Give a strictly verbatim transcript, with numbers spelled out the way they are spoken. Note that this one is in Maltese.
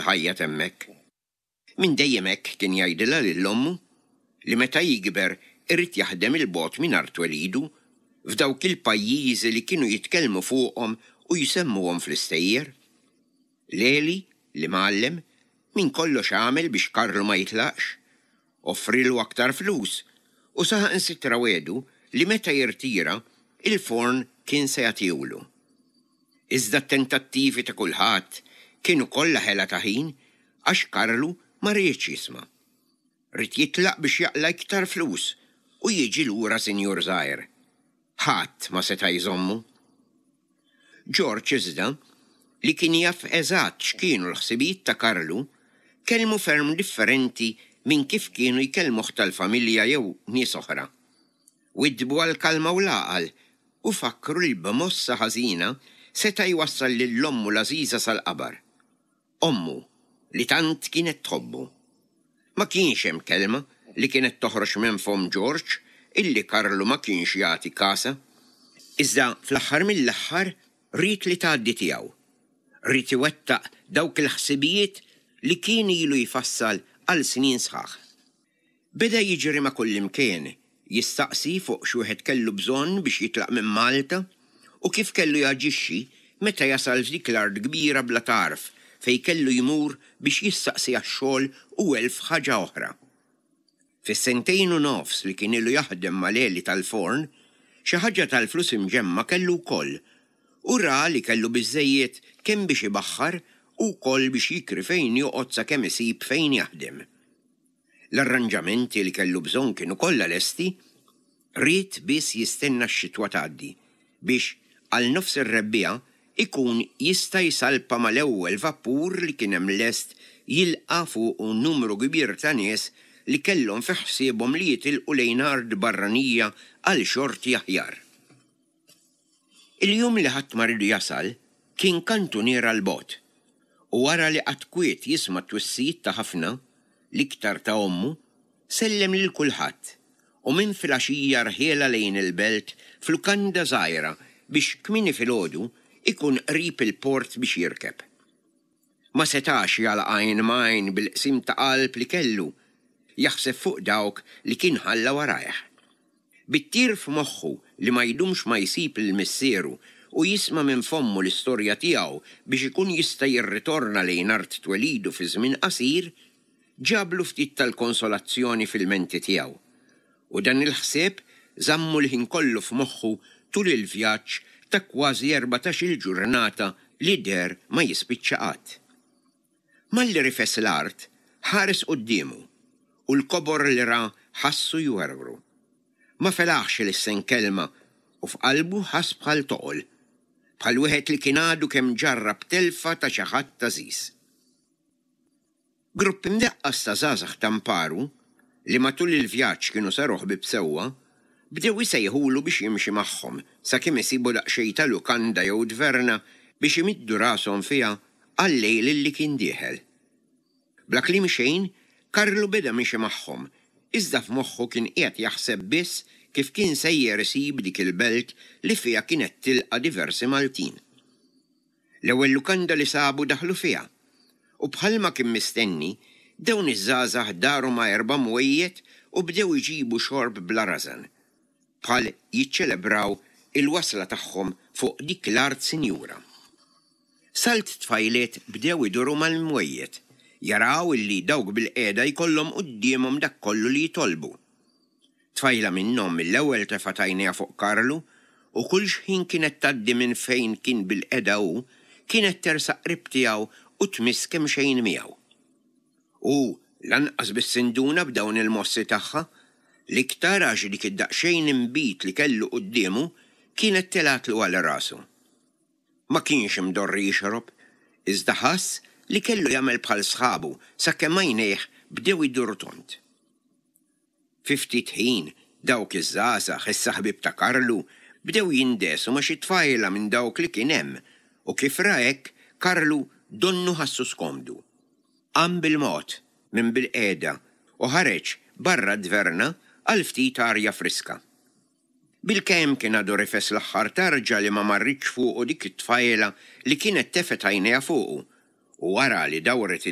l-ħajja t'hemmhekk. Minn dejjem hekk kien jgħidilha lil ommu li meta jikber irid jaħdem 'il bogħod minn art twelidu f'dawk il-pajjiżi li kienu jitkellmu fuqhom u jsemmuhom fl-istejjer. Leli, l-imgħallem, minn kollox għamel biex Karlu ma jitlaqx. Offrilu aktar flus u saħansitra wegħdu li meta jirtira il-forn kien se jagħtihulu. Iżda t-tentattivi ta' kulħadd kienu kollha ħela ta' ħin għax Karlu ma riedx jisma'. Ried jitlaq biex jaqla' iktar flus u jiġi lura sinjur żgħir. Ħadd ma seta' jżommu. George iżda, li kien jaf eżatt x'kienu l-ħsibijiet ta' Karlu, kellmu ferm differenti minn kif kienu jkellmuh tal-familja jew nies oħra. Widdbu għall-kalma u l-għaqal u fakkru li b'mossa ħażina seta' jwassal lil ommu l-għażiża sal-qabar. Ommu li tant kienet tħobbu. Ma kienx hemm kelma li kienet toħroġ minn fomm George illi Karlu ma kienx jagħti kasha. Iżda fl-aħħar mill-aħħar ried li tgħaddi tiegħu. Ried iwettaq dawk il-ħsibijiet li kien ilu jfassal għal snin sħaħ. Beda jiġri ma' kullimkien, jistaqsi fuq x'wieħed kellu bżonn biex jitlaq minn Malta u kif kellu jaġixxi meta jasal f'dik l-art kbira bla tarf fejn kellu jmur biex jistaqsi għax-xogħol u elf ħaġa oħra. Fis-sentejn u nofs li kien ilu jaħdem ma' Leli tal-forn, xi ħaġa tal-flus imġemma kellu wkoll u ra li kellu biżżejjed kemm biex ibaħħar u wkoll biex jikri fejn joqgħod sakemm isib fejn jaħdem. L-arranġamenti li kellu bżonn kienu kollha lesti, ried biss jistenna x-xitwa tgħaddi biex għal nofs ir-rebbiegħa ikun jista' jsalpa mal-ewwel vapur li kien hemm lest jilqa' fuqu numru kbir ta' nies li kellhom fi ħsiebhom li jitilqu lejn art barranija għal xorti aħjar. Il-jum li ħadd ma riedu jasal kien kantuniera 'l bogħod u wara li qagħad kwiet jisma' t-twissijiet ta' ħafna, l-iktar ta' ommu, sellem lil kulħadd u minn filgħaxija rħielha lejn il-belt f'lukanda żgħira biex kmieni filgħodu ikun qrib il-port biex jirkeb. Ma setax jagħlaq għajn m'għajn bil-qsim ta' qalb li kellu, jaħseb fuq dawk li kien ħalla warajh. Bit-tir f'moħħu li ma jdumx ma jsib lil missieru u jisma' minn fommu l-istorja tiegħu biex ikun jista' jirritorna lejn art twelidu fi żmien qasir, ġablu ftit tal-konsolazzjoni fil-menti tiegħu. U dan il-ħsieb żammu l-ħin kollu f'moħħu tul il-vjaġġ ta' kważi erbatax-il ġurnata li deher ma jispiċċa qatt. Malli rifes l-art, ħares quddiemu u l-kobor li ra ħassu jwerwru. Ma felaħx ilissen kelma u f'qalbu ħass bħal toqol, bħal wieħed li kien għadu kemm ġarrab telfa ta' xi ħadd għażiż. Grupp imdaqqas ta' żgħażagħ ta' mparu, li matul il-vjaġġ kienu saru ħbieb sewwa, bdew isejħulu biex jimxi magħhom sakemm isibu daqsxejn ta' lukanda jew tverna biex imiddu rashom fiha għal-lejl li kien dieħel. Bla kliem xejn, Karlu beda miexi magħhom, iżda f'moħħu kien qiegħed jaħseb biss kif kien sejjer isib dik il-belt li fiha kienet tilqa' diversi Maltin. L-ewwel lukanda li sabu daħlu fiha, u bħalma kien mistenni, dawn iż-żgħażagħ daru ma' erba' mwejjed u bdew iġibu xorb bla rażan, bħal jiċċelebraw il-wasla tagħhom fuq dik l-art sinjura. Salt tfajliet bdew iduru mal-mwejjed, jaraw illi dawk bil-qiegħda jkollhom quddiemhom dak kollu li jitolbu. Tfajla minnhom mill-ewwel tefgħet għajnejha fuq Karlu u kull xħin kienet tgħaddi minn fejn kien bil-qiegħda hu, kienet tersaq qrib tiegħu u tmiss kemxejn miegħu. U lanqas biss induna b'dawn il-mossi tagħha, l-iktar għax dik id-daqsxejn inbid li kellu quddiemu kienet telgħatlu għal rasu. Ma kienx imdorri jixrob, iżda ħass li kellu jagħmel bħal sħabu sakemm għajnejh bdew iduru tond. Fi ftit ħin dawk iż-żgħażagħ, issa ħbieb ta' Karlu, bdew jindesu ma' xi tfajla minn dawk li kien hemm u kif ra hekk Karlu donnu ħassu skomdu. Qam bil-mod minn bil-qiegħda u ħareġ barra d-dverna għal ftit arja friska. Bilkemm kien għadu rifes l-aħħar tarġa li ma marritx fuqu dik it-tfajla li kienet tefgħet għajnejha fuqu u wara li dawret